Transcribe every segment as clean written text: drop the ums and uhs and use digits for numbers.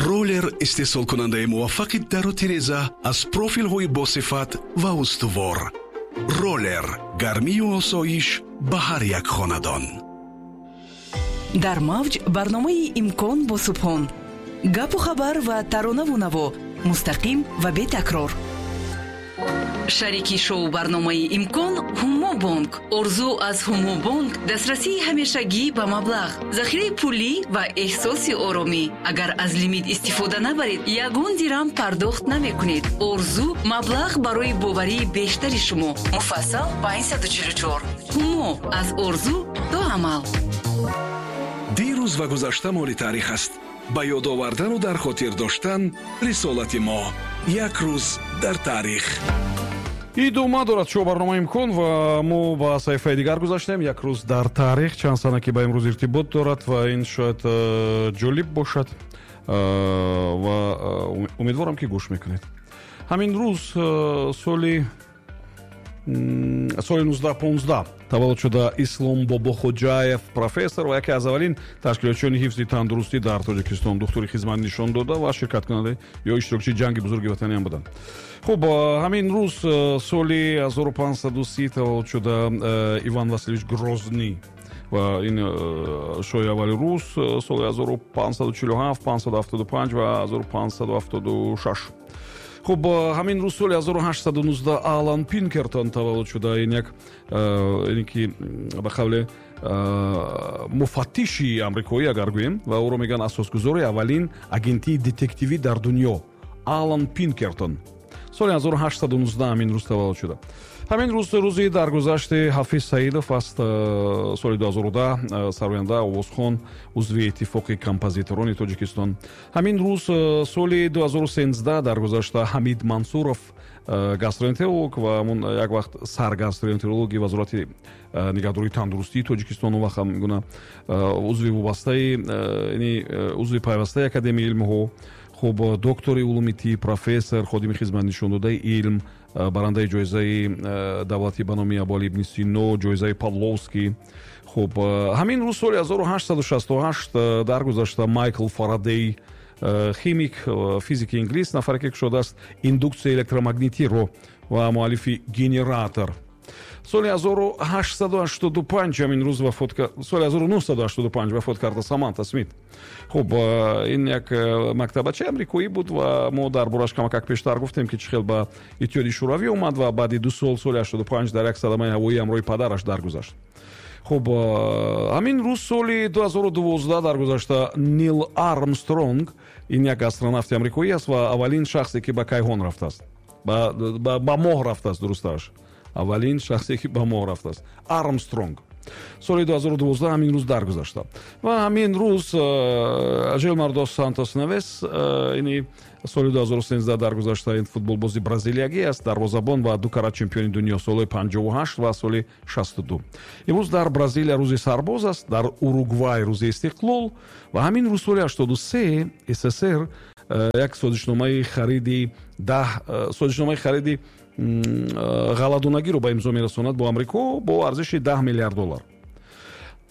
Роллер истеҳсолкунандаи муваффақи дару тиреза аз профилҳои босифат ва устувор. Роллер гармию осоиш ба ҳар як хонадон. Дар мавҷ барномаи «Имкон» бо Субҳон. Гапу хабар ва таронаву наво мустақим ва бетакрор. Шарики шоу барномаи «Имкон» Ҳумобонк. Орзу аз Ҳумобонк дастрасии ҳамешагӣ ба маблағ, захираи пулӣ ва эҳсоси оромӣ. Агар аз лимит истифода набаред, ягон дирам пардохт намекунед. Орзу маблағ барои боварии бештари шумо. Муфассал 544. Ҳумо аз орзу то амал. Дирӯз ва гузашта моли таърих аст. Ба ёд овардану дар хотир доштан рисолати мо. Як рӯз дар таърих. Идома дорад шоу барномаи «Имкон» ва мо ба саҳифаи дигар гузаштем. Як рӯз дар таърих, чанд сана ки ба имрӯз иртибот дорад ва ин шояд ҷолиб бошад ва умедворам, ки гӯш мекунед. Ҳамин рӯз соли 1915 таваллуд шуда Ислом Бобохоҷаев, профессор ва яке аз аввалин ташкилотчиёни ҳифзи тандурустӣ дар Тоҷикистон, духтури хизмат нишон дода ва ширкаткунанда ё иштирокчии Ҷанги Бузурги Ватанӣ ҳам буданд. Хуб, ҳамин рӯз соли 1530 таваллуд шуда Иван Васильевич Грозный ва ин шоҳи аввали рус, соли 1547, 575 ва 1576. Хуб, ҳамин рӯз соли 1819 Алан Пинкертон таваллуд шуда. Ин як ин ки ба қавле муфаттиши амрикоӣ агар гӯем, ва ӯро мегӯянд асосгузори аввалин агентии детективӣ дар дунё. Алан Пинкертон соли 1819 ҳамин рӯз таваллуд шуда. Ҳамин рӯз рӯзи даргузашти Ҳафиз Саидов аст, соли 2010, сароянда, овозхон, узви Иттифоқи композиторони Тоҷикистон. Ҳамин рӯз соли 2013 даргузашта Ҳамид Мансуров, гастроэнтеролог ва ҳамун як вақт саргастроэнтерологи Вазорати нигаҳдории тандурустии Тоҷикистон, он вақт ҳам гуна узви вобастаи, узви пайвастаи Академияи илмҳо. Хуб, доктори улуми тиб, профессор, ходими хизматнишондодаи илм, барандаи ҷоизаи давлатӣ ба номи Абуалӣ ибни Сино, ҷоизаи Павловский. Хуб, ҳамин рӯз соли 1868 даргузашта Майкл Фарадей, химик, физики инглис, нафаре ки кушодааст индуксияи электромагнитиро ва муаллифи генератор. Соли 1885 ҳамин рӯз вафот, соли 1985 вафот карда Саманта Смит. Хуб, ин як мактабачаи амрикоӣ буд ва мо дар бораш камакак пештар гуфтем, ки чӣ хел ба Иттиҳоди Шӯравӣ омад ва баъди 2 сол, соли 85, дар як садамаи ҳавоӣ ҳамроҳи падараш даргузашт. Хуб, ҳамин рӯз соли 2012 даргузашта Нил Армстронг. Ин як астронавти амрикоӣ аст ва аввалин шахсе, ки ба кайҳон рафтааст, ба моҳ рафтааст, дурустараш, аввалин шахсе, ки ба моҳ рафтааст, Армстронг, соли 2012 ҳамин рӯз даргузашта. Ва ҳамин рӯз Жилмар дос Сантос Невес, ини соли 2013 даргузашта. Ин футболбози бразилиягӣ аст, дарвозабон ва ду карат чемпиони дунё солҳои 58 ва соли 62. Имрӯз дар Бразилия рӯзи сарбоз аст, дар Уругвай рӯзи истиқлол. Ва ҳамин рӯз соли 83 СССР як созишномаи хариди даҳ созишномаи хариди ғалладонагиро ба имзо мерасонад бо Амрико бо арзиши 10 миллиард доллар.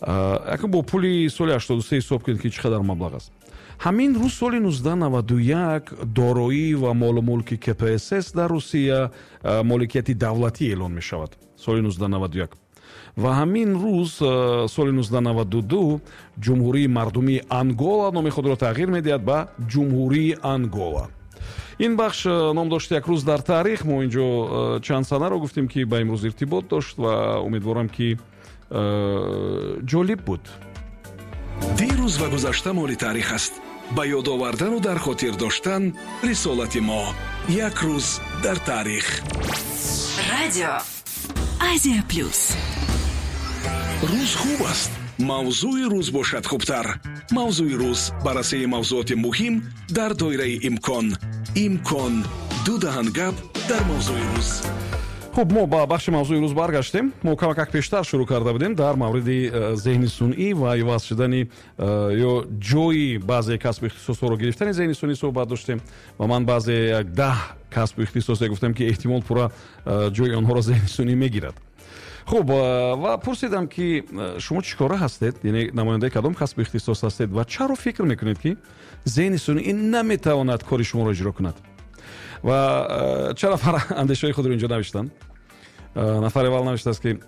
Акун бо пули соли 83 ҳисоб кунед, ки чӣ қадар маблағ аст. Ҳамин рӯз соли 1991 дороӣ ва молу мулки КПСС дар Русия моликияти давлатӣ эълон мешавад, соли 1991. Ва ҳамин рӯз соли 1992 Ҷумҳурии Мардумии Ангола номи худро тағйир медиҳад ба Ҷумҳурии Ангола. Ин бахш ном дошт «Як рӯз дар таърих». Мо инҷо чанд санаро гуфтем, ки ба имрӯз иртибот дошт, ва умедворам, ки ҷолиб буд. Дирӯз ва гузашта моли таърих аст. Ба ёд овардану дар хотир доштан рисолати мо. Як рӯз дар таърих. Радио Азия Плюс. Рӯз хуб аст, мавзӯи рӯз бошад хубтар. «Мавзӯи рӯз» баррасии мавзӯоти муҳим дар доираи имкон. Имкон: ду даҳан гап дар мавзӯи рӯз. Хуб, мо ба бахши «Мавзӯи рӯз» баргаштем. Мо камакак пештар шурӯъ карда будем дар мавриди зеҳни сунъӣ ва иваз шудани ё ҷои баъзе касбу ихтисосҳоро гирифтани зеҳни сунъӣ суҳбат доштем ва ман баъзе як 10 касбу ихтисосе гуфтам, ки эҳтимол пурра ҷои онҳоро зеҳни сунъӣ мегирад. Хуб, ва пурсидам, ки шумо чӣ кора ҳастед, яъне намояндаи кадом касбу ихтисос ҳастед ва чаро фикр мекунед, ки зеҳни сунъӣ наметавонад кори шуморо иҷро кунад. Ва чанд нафар андешаҳои худро инҷо навиштанд. Нафари аввал навиштааст, ки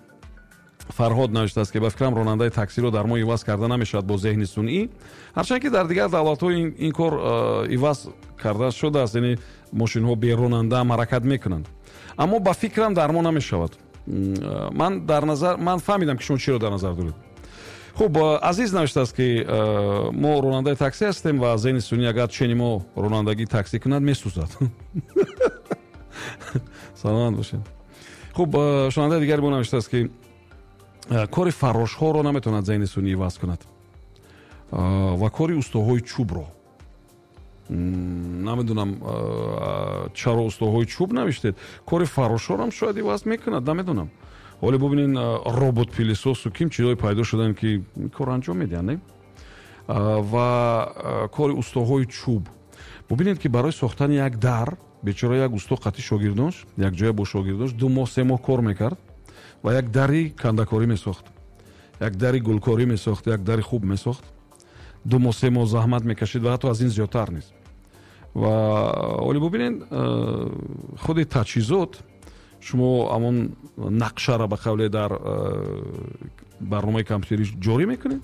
Фарҳод навиштааст, ки ба фикрам, ронандаи таксиро дар мо иваз карда намешавад бо зеҳни сунъӣ, ҳарчанд ки дар дигар давлатҳо ин кор иваз карда шудааст, яъне мошинҳо беронанда ҳаракат мекунанд, аммо ба фикрам, дар мо намешавад. Ман дар назар, ман фаҳмидам, ки шумо чиро дар назар доред. Хуб, Азиз навиштааст, ки мо ронандаи таксӣ ҳастем ва зеҳни сунъӣ агар чени мо ронандагии таксӣ кунад, месӯзад. Саломат бошед. Хуб, шунавандаи дигари мо навиштааст, ки кори фаррошҳоро наметавонад зеҳни сунъӣ иваз кунад ва кори устоҳои чӯбро. Намедонам, чаро устоҳои чӯб навиштед. Кори фаррошҳорам шояд иваз мекунад, намедонам. Ҳоле бубинед, робот пылесос у ким чизҳое пайдо шуданд, ки кор анҷом медиҳанд, не? Ва кори устоҳои чӯб, бубинед, ки барои сохтани як дар бечора як усто қати шогирдонш, якҷоя бо шогирдонш 2 моҳ, 3 моҳ кор мекард ва як дари кандакорӣ месохт, як дари гулкорӣ месохт, як дари хуб месохт. 2 моҳ, 3 моҳ заҳмат мекашид ва ҳатто аз ин зиёдтар нест. Ва ҳоле бубинед, худи таҷҳизот, шумо ҳамон нақшаро ба қавле дар барномаи компютерӣ ҷорӣ мекунед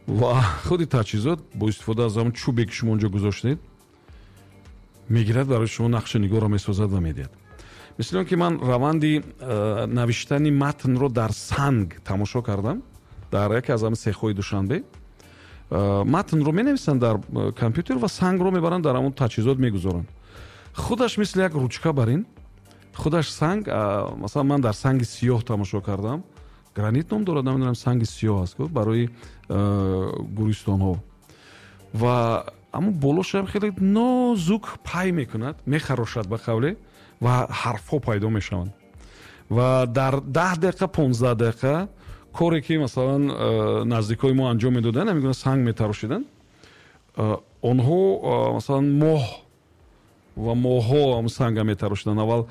ва худи таҷҳизот бо истифода аз ҳамон чӯбе, ки шумо онҷо гузоштед, мегирад, барои шумо нақши нигорро месозад ва медиҳад. Мисли он ки ман раванди навиштани матнро дар санг тамошо кардам дар яке аз ҳамин сехҳои Душанбе. Матнро менависанд дар компютер ва сангро мебаранд, дар ҳамон таҷҳизот мегузоранд. Худаш мисли як ручка бар ин худаш санг, масалан, ман дар санги сиёҳ тамошо кардам, гранит ном дорад, намедонам, санги сиёҳ аст барои гӯристонҳо, ва ҳамон болошам хеле нозук пай мекунад, мехарошад ба қавле, ва ҳарфҳо пайдо мешаванд. Ва дар 10 дақиқа, 15 дақиқа коре, ки масалан наздикои мо анҷом медоданд, ҳамин гуна санг метарошиданд, онҳо масалан моҳ ва моҳҳо ҳамн санга метарошиданд. Аввал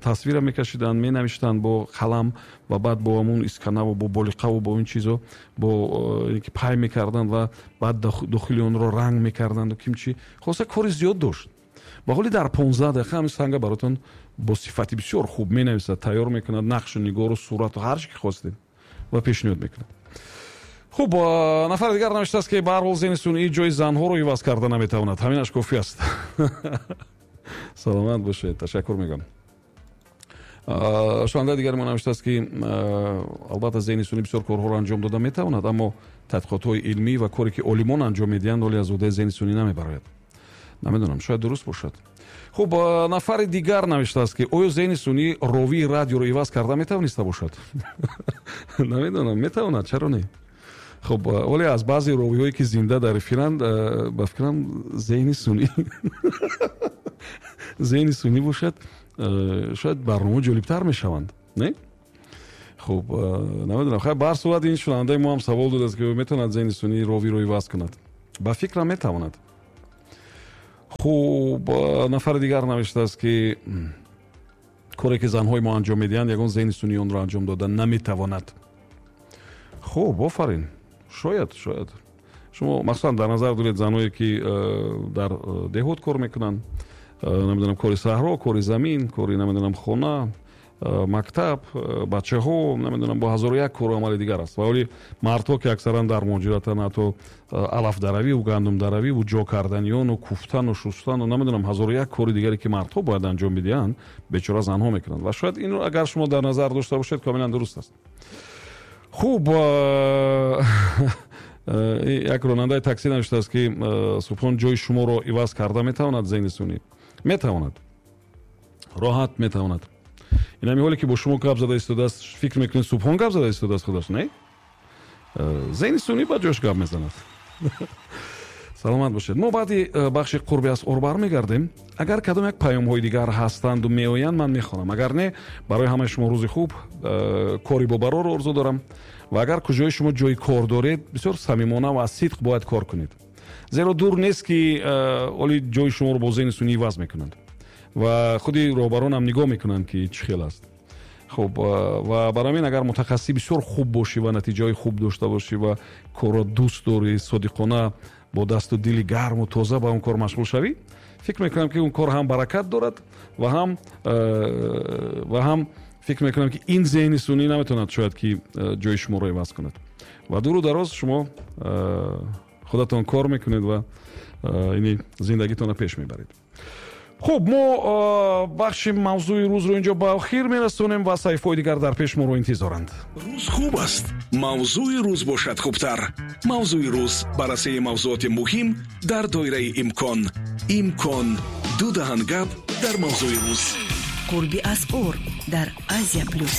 тасвира мекашиданд, менавиштанд бо қалам ва баъд бо ҳамун исканаву бо болиқаву бо ин чизо бо ки пай мекарданд ва баъд дохили онро ранг мекарданду кимчи. Хулоса, кори зиёд дошт. Ва ҳоли дар 15 дақиқа ҳамин санга баротон бо сифати бисёр хуб менависад, тайёр мекунад, нақшу нигору сурату ҳар чи ки хостед ва пешниҳод мекунад. Хуб, нафари дигар навиштааст, ки ба ҳар ҳол зеҳни сунъӣ ҷои занҳоро иваз карда наметавонад, ҳаминаш кофӣ аст. Саломат бошед, ташаккур мегӯям. Шунавандаи дигари мо навиштааст, ки албатта, зеҳни сунъӣ бисёр корҳоро анҷом дода метавонад, аммо тадқиқотҳои илмӣ ва коре, ки олимон анҷом медиҳанд, ҳоле аз уҳдаи зеҳни сунъӣ намебарояд. Намедонам, шояд дуруст бошад. Хуб, нафари дигар навиштааст, ки оё зеҳни сунъӣ ровии радиоро иваз карда метавониста бошад? Намедонам, метавонад, чаро не? Хуб, вале аз баъзе ровиҳое, ки зинда дар эфиранд, ба фикрам, зеҳни сунъӣ бошад, шояд барнома ҷолибтар мешаванд, не? Хуб, намедонам. Хайр, ба ҳар сурат, ин шунавандаи мо ҳам савол додааст, ки метавонад зеҳни сунъӣ ровиро иваз кунад. Ба фикрам, метавонад. Хуб, нафари дигар навиштааст, ки коре, ки занҳои мо анҷом медиҳанд, ягон зеҳни сунъӣ онро анҷом дода наметавонад. Хуб, офарин. Шояд шумо махсусан дар назар доред занҳое, ки дар деҳот кор мекунанд, намедонам, кори саҳро, кори замин, кори, намедонам, хона, мактаб, бачаҳо, намедонам, бо ҳазору як кору амали дигар аст. Ва оли мардҳо, ки аксаран дар муҳоҷиратанд, ҳатто алафдаравиву гандумдаравиву ҷо карданиону куфтану шустану, намедонам, ҳазору як кори дигаре, ки мардҳо бояд анҷом бидиҳанд, бечора занҳо мекунанд. Ва шояд инро агар шумо дар назар дошта бошед, комилан дуруст аст. Хуб, як ронандаи таксӣ навиштааст, ки Субҳон, ҷои шуморо иваз карда метавонад зеҳни сунъӣ? Метавонад, роҳат метавонад. Ин ҳами ҳоле, ки бо шумо гап зада истодааст, фикр мекунед, Субҳон гап зада истодааст худаш? Не, зеҳни сунъӣ ба ҷош гап мезанад. Саломат бошед. Мо баъди бахши қурби асъор бармегардем. Агар кадом як паёмҳои дигар ҳастанду меоянд, ман мехонам, агар не, барои ҳамаи шумо рӯзи хуб, кори бобарорро орзу дорам. Ва агар куҷои шумо ҷои кор доред, бисёр самимона ва аз сидқ бояд кор кунед, зеро дур нест, ки оли ҷои шуморо бо зеҳни сунъӣ иваз мекунанд ва худи роҳбаронам нигоҳ мекунанд, ки чӣ хел аст. Хуб, ва барои ҳамин агар мутахассиси бисёр хуб бошӣ ва натиҷаҳои хуб дошта бошӣ ва корро дӯст дорӣ, содиқона бо дасту дили гарму тоза ба он кор машғул шавӣ, фикр мекунам, ки он кор ҳам баракат дорад ва ҳам фикр мекунам, ки ин зеҳни сунъӣ наметавонад шояд ки ҷои шуморо иваз кунад. Ва дуру дароз шумо худатон кор мекунед ва ини зиндагитонро пеш мебаред. Хуб, мо бахши мавзӯи рӯзро инҷо ба охир мерасонем ва саҳифаҳои дигар дар пеш моро интизоранд. Рӯз хуб аст, мавзӯи рӯз бошад хубтар. Мавзӯи рӯз: баррасии мавзуоти муҳим дар доираи имкон. Имкон: ду даҳан гап дар мавзӯи рӯз. Қурби асъор дар Азия Плюс.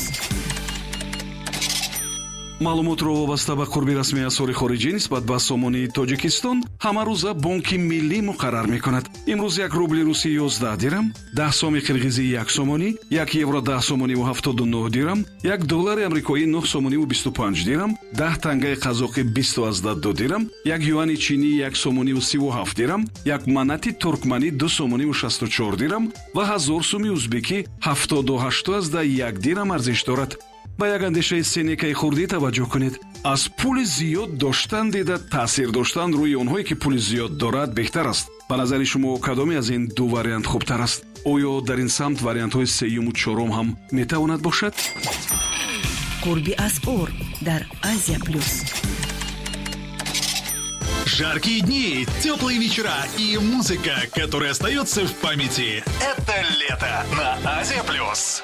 Маълумотро вобаста ба қурби расмии асъори хориҷӣ нисбат ба сомонии Тоҷикистон ҳамарӯза Бонки Миллӣ муқаррар мекунад. Имрӯз як рубли русӣ 11 дирам, 10 соми қирғизӣ як сомонӣ, як евро 10 сомониву 79 дирам, як доллари амрикоӣ 9 сомониву 25 дирам, 10 тангаи қазоқӣ 20,2 дирам, як юани чинӣ як сомониву 37 дирам, як манати туркманӣ 2 сомониву 64 дирам ва 1000 суми узбекӣ 78,1 дирам арзиш дорад. Ба як андешаи Сенекаи хурдӣ таваҷҷӯҳ кунед: аз пули зиёд доштан дида таъсир доштан рӯи онҳое, ки пули зиёд дорад, беҳтар аст. Ба назари шумо, кадоме аз ин ду вариант хубтар аст? Оё дар ин самт вариантҳои сеюму чорум ҳам метавонад бошад? Қурби асъор дар Азия Плюс. Жаркие дни, теплые вечера и музыка, которая остается в памяти. Это лето на Азия Плюс.